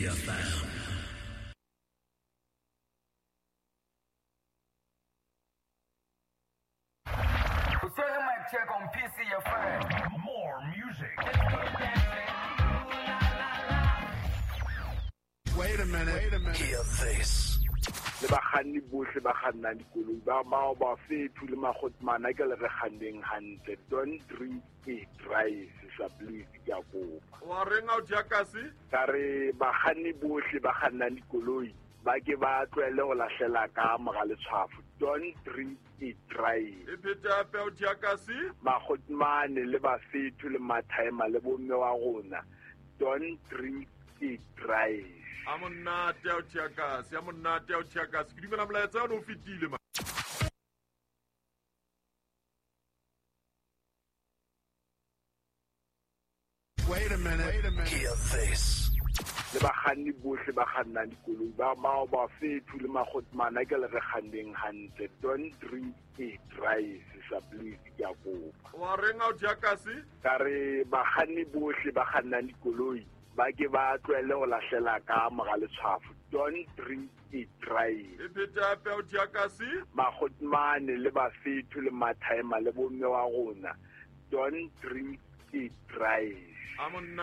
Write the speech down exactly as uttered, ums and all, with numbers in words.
C F M. Mic check on P C F M. More music. Wait a minute. Wait a minute. Hear this. Le bakganni bohle ba kgannang dikoloi ba bao ba fethu le magotmana ke le re kganneng hantle. Don't drink e drive, sa please, ke a kopa. Wa reng ao Jakasi? Ka re bakganni bohle ba kgannang dikoloi ba ke ba tlohelle ho lahlela ka mora letshwafo. Don't drink e drive. E phete hape ao Jakasi? Magotmane le bafethu le mathaema le bomme wa rona. Don't drink e drive. A monate ao Jakasi, a monate ao Jakasi. Ke dumela molaetsa o fetile ma. Wait a minute. Wait a minute. Hear this. Le bakganni bohle ba kgannang dikoloi ba bao ba fethu le magotmana ke le re kganneng hantle. Don't drink e drive, sa please, ke a kopa. Wa reng ao Jakasi? Ka re bakganni bohle ba kgannang dikoloi ba ke ba tlohelle ho lahlela ka mora letshwafo. Don't drink e drive. E phete hape ao Jakasi? Magotmane le bafethu le mathaema le bomme wa rona. Don't drink e drive. A monna